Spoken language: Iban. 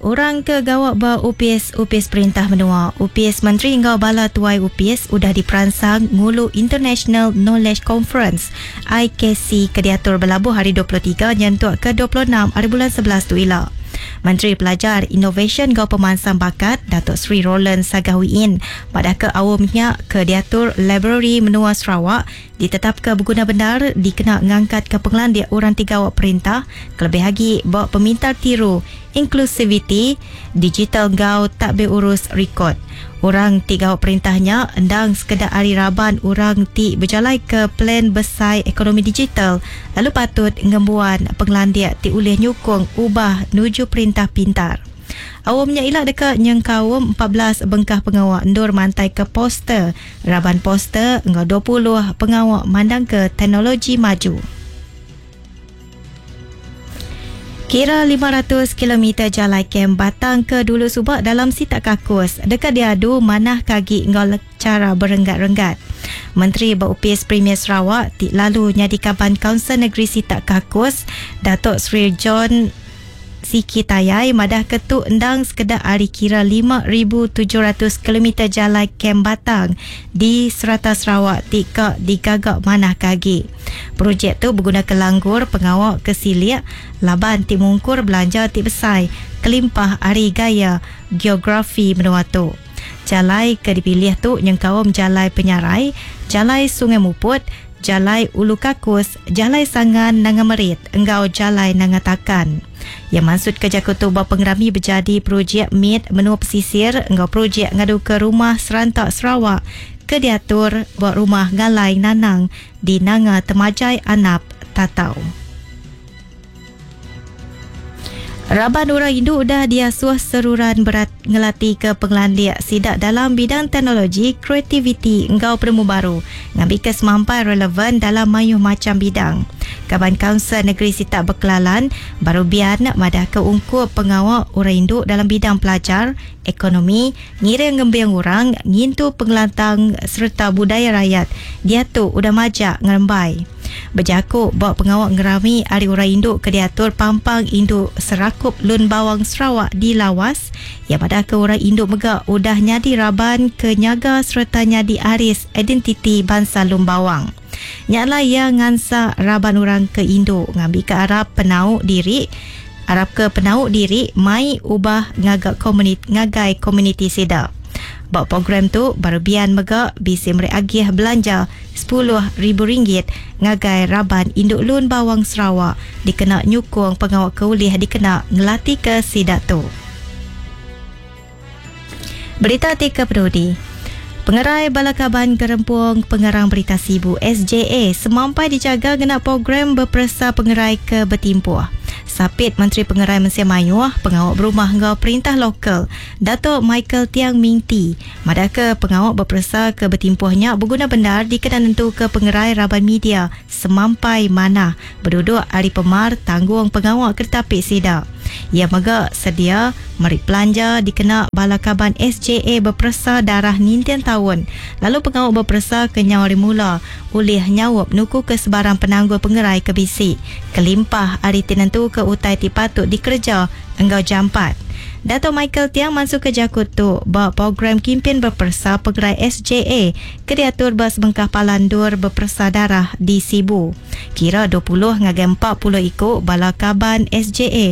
Orang ke gawa ba opis-opis perintah menua, opis menteri enggau bala tuai opis udah diperansang ngulu International Knowledge Conference, IKC, ke diatur belabuh hari 23 nyentuk ke 26 hari bulan 11 tu ila. Menteri Pelajar, Inovasyen enggau Pemansang Bakat, Datuk Seri Roland Sagah Wee Inn madah ke aum nya ke diatur Library Menua Sarawak ditetapka beguna bendar dikena ngangkatka pengelandik orang ti gawa perintah kelebih agi ba pemintar tiru, inklusiviti digital enggau tadbir urus rikod. Orang ti gawa perintah nya endang sekeda ari raban orang ti bejalaika Plan Besai Ekonomi Digital lalu patut ngembuan pengelandik ti ulih nyukung ubah nuju perintah pintar. Aum nya ila deka nyengkaum 14 bengkah pengawa endur mantaika poster, raban poster enggau 20 pengawa mandangka teknologi maju. Kira 500 kilometer jalai kem batang ke dulu suba dalam sitak Kakus deka diadu manah ke agi enggau chara berenggat-renggat. Menteri ba Opis Premier Sarawak ti lalu nyadi kaban Kaunsil Negeri Sitak Kakus, Datuk Seri John Siki Tayai madah ke tu endang sekeda ari kira 5,700 kilometer jalai kem batang di serata Sarawak ti ka digaga manah ke agi. Projek tu begunaka langgur pengawa ke silik laban ti mungkur belanja ti besai kelimpah ari gaya geografi menua tu. Jalai ke dipilih tu nyengkaum Jalai Penyarai, Jalai Sungai Muput, Jalai Ulu Kakus, Jalai Sangan Nanga Merit enggau Jalai Nanga Takan. Iya mansutka jaku tu ba pengerami bejadi projek mit menua pesisir enggau projek ngaduka rumah seranta Sarawak ke diatur ba Rumah Ngalai Nanang di Nanga Temajai Anap, Tatau. Raban orang indu udah diasuh seruran berat ngelatika pengelandik sida dalam bidang teknologi, kreativiti enggau penemu baru ngambika semampai relevan dalam mayuh macham bidang. Kaban Kaunsil Negeri Sitak Bekelalan, Baru Bian madahka ungkup pengawa orang indu dalam bidang pelajar, ekonomi, ngiring ngembing orang, ngintu pengelantang sereta budaya rayat diatu udah majak ngerembai. Bejaku ba pengawa ngerami Hari Orang Indu ke diatur Pampang Indu Serakup Lun Bawang Sarawak di Lawas, iya madahka orang indu mega udah nyadi raban ke nyaga sereta nyadi aris identiti bansa Lun Bawang. Nya alai iya ngansak raban orang ke indu ngambika arap penau diri arapka penau diri mai ubah ngaga komunit ngagai komuniti sida. Ba program tu, Baru Bian mega bisi meri agih belanja RM10,000 ngagai raban Indu Lun Bawang Sarawak dikena nyukung pengawa ke ulih dikena ngelatika sida tu. Berita ti ke penudi. Pengerai bala kaban Gerempung Pengarang Berita Sibu, SJA, semampai dijaga ngena program beperesa pengerai ke betimpuh. Sapit Menteri Pengerai Mensia Mayuh, Pengawa Berumah enggau Perintah Lokal, Datuk Michael Tiang Ming Tee, madahka pengawa beperesa ke betimpuh nya beguna bendar dikena nentuka pengerai raban media semampai manah beduduk ari pemar tanggung pengawa ke ditapi sida. Iya mega sedia meri pelanja dikena bala kaban SJA beperesa darah ninting taun lalu pengawa beperesa ke nyau ari mula ulih nyaup nukuka sebarang penanggul pengerai ke bisi kelimpah ari ti nentuka utai ti patut dikereja enggau jampat. Datuk Michael Tiang mansuka jaku tu ba program kimpin beperesa pengerai SJA ke diatur ba sebengkah palan endur beperesa darah di Sibu. Kira 20 ngagai 40 iku bala kaban SJA.